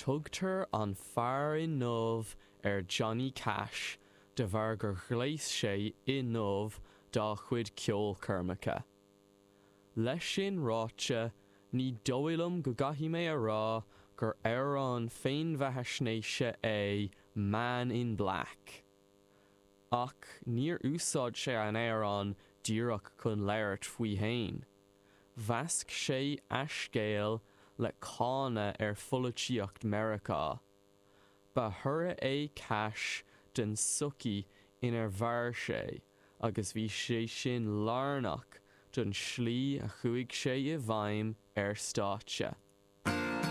Tugtar an Fear i nDubh ar Johnny Cash de bharr gur ghléas sé i ndubh dá chuid ceolchoirmeacha. Leis sin ráite, ní dóigh liom go gcaithfidh mé a rá gur amhrán féinbheathaisnéise é Man in Black. Ach níor úsáid sé an amhrán díreach chun labhairt faoi fhéin. Mheasc sé a scéal le cáineadh ar pholaitíocht Meiriceá. Ba thoradh é Cash den tsochaí inar mhair sé agus bhí sé sin lárnach don tslí a chuaigh sé i bhfeidhm ar stáitse.